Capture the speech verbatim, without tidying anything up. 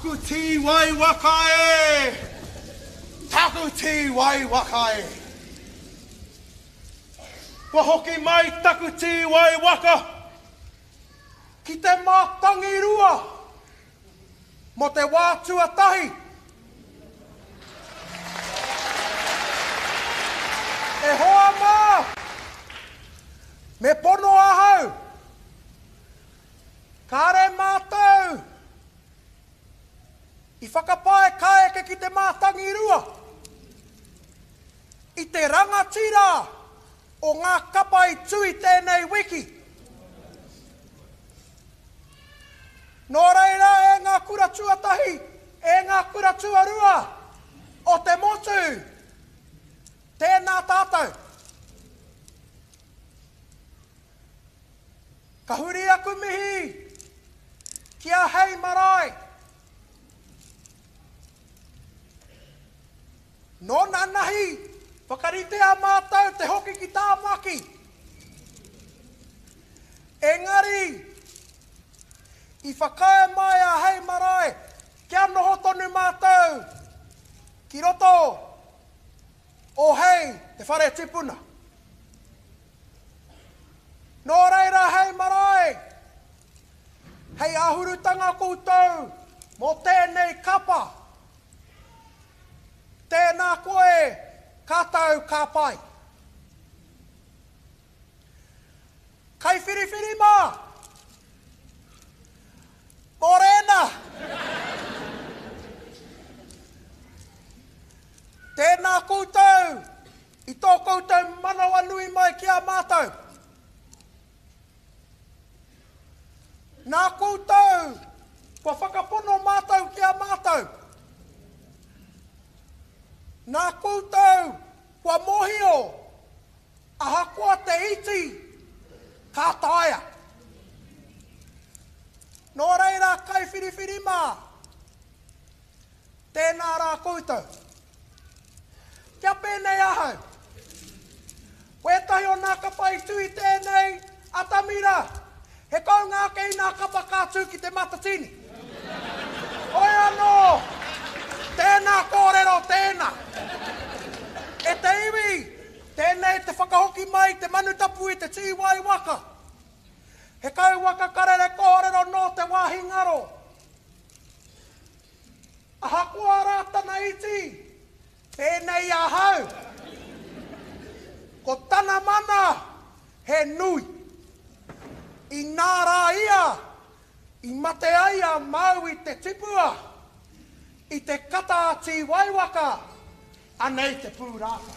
Taku tīwai waka e! Taku tīwai waka e! Kua hoki mai taku tīwai waka ki te Mātangirua mō te wā tuatahi. E hoa mā, me pono ahau, kāre mātou i whakapae ka eke ki te Mātangirua i te rangatira o ngā kapa i tū i tēnei wiki. Nō reira e ngā kura tuatahi, e ngā kura tuarua o te motu, tēnā tātou. Ka huri aku mihi ki a Hei Marae. Nō nanahi, whakaritea mātou te hoki ki Tāmaki. Engari, i whakaae mai a Hei Marae kia noho tonu mātou ki roto o Hei, te whare tipuna. Nō reira Hei Marae, hei āhurutanga koutou mō tēnei kapa. Tēnā koe, ka tau, ka pai. Kaiwhiriwhiri mā! Mōrena! Tēnā koutou i tō koutou manawanui mai ki a mātou. Nā koutou kua whakapono mātou ki a mātou. Nā koutou kua mōhio, ahakoa te iti, ka taea. Nō reira kaiwhiriwhiri mā, tēnā rā koutou. Kia pēnei ahau. Wētahi o nā kapa i tū i tēnei atamira, he kounga ake i nā kapa ka tū ki Te Matatini. Hoi anō, tēnā kōrero tēnā. E te iwi, tēnei te whakahoki mai te manu tapu i te tīwai waka. He kauwaka karere kōrero nō te wāhi ngaro. Ahakoa rā tana iti, pēnei ahau, ko tana mana he nui. Inā rā ia, i mate ai a Māui te tipua i te kata a Tīwaiwaka, anei te pūrākau.